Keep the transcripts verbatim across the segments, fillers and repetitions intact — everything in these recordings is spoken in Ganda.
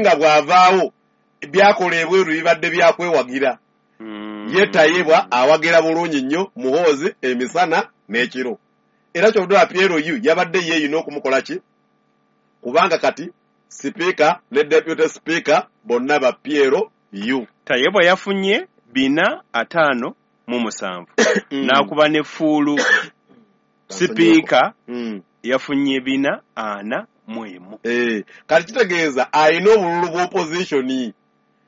nga bw'avaawo byakola ebweru bibadde byakwewagira. Mm. Ye Tayebwa awagira bulungi nnyo Muhoozi emisana n'ekiro, era kyobudala P L U yabadde yeeyina okumukola ki, kubanga kati sipiika ne deputy speaker bonna ba P L U. Tayebwa yafunye bina ataano mu musanvu n'akuba ne fuulu. Sipiika Mm. yafunye bina ana mu emu. Eh, kati kitegeeza alina obululu bw'opposition.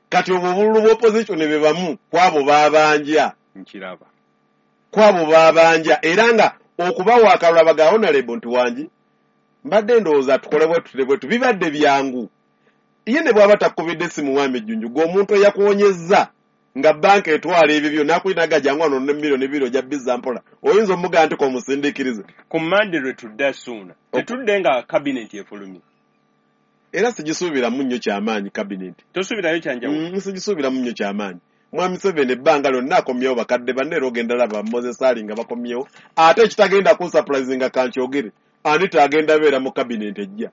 Kati obwo obululu bw'opposition be bamu kwabo babanja. Nkiraba. Kwabo babanja, era nga okubawa akalulu abaga honorable nti wangi mbadde ndowooza tukole bwe tutule bwetu bibadde byangu. Ye ne bw'aba takubidde essimu, mwami Jjunju, gwe omuntu eyakuwonyezza nga banka etwala ebibyo n'akuyinaga jangu wano ne miliyoni bbiri ojja bizza mpola, oyinza omugamba nti komusindiikirize? Ku Mande lwe tudda, Suuna, tetudde nga kabineti efulumye. Era sigisuubiramu nnyo kyamaanyi kabineti. Tosuubirayo kyanjawulo? Mm, sigisuubiramu nnyo kyamaanyi. Mwami Museveni ebbanga lyonna akomyewo bakadde banne, era ogenda laba Moses Ali nga bakomyewo. Ate ekitagenda kunsurprisinga, kankyogere, Anita agenda beera mu kabineti ejja.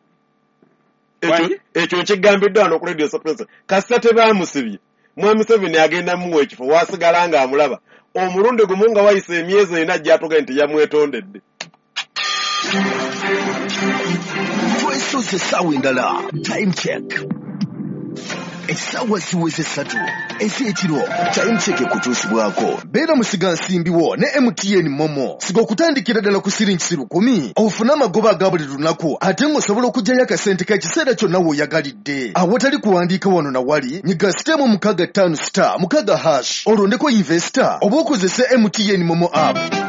Ekyo- Wangi? Ekyo nkigambiddwa wano ku Radio Surprise. Kasita tebaamusibye, mwami Museveni agenda muwa ekifo wasigala ng'amulaba omulundi gumu nga wayise emyezi ena ajja atuge nti yamwetondedde. Twesoze essaawa endala. Time Check, essaawa ziweze ssatu ez'ekiro. Time Check ekutuusibwako beera musigansimbi wo ne M T N MoMo. Siga okutandikira ddala ku siringi lukumi ofune amagoba aga buli lunaku, ate ng'osobola okuggyayo akasente k'ekiseera kyonna w'oyagalidde awatali kuwandiika wano na wali. Nyiga star mukaaga ttaano star mukaaga hash, olondeko investor oba okozese M T N MoMo app.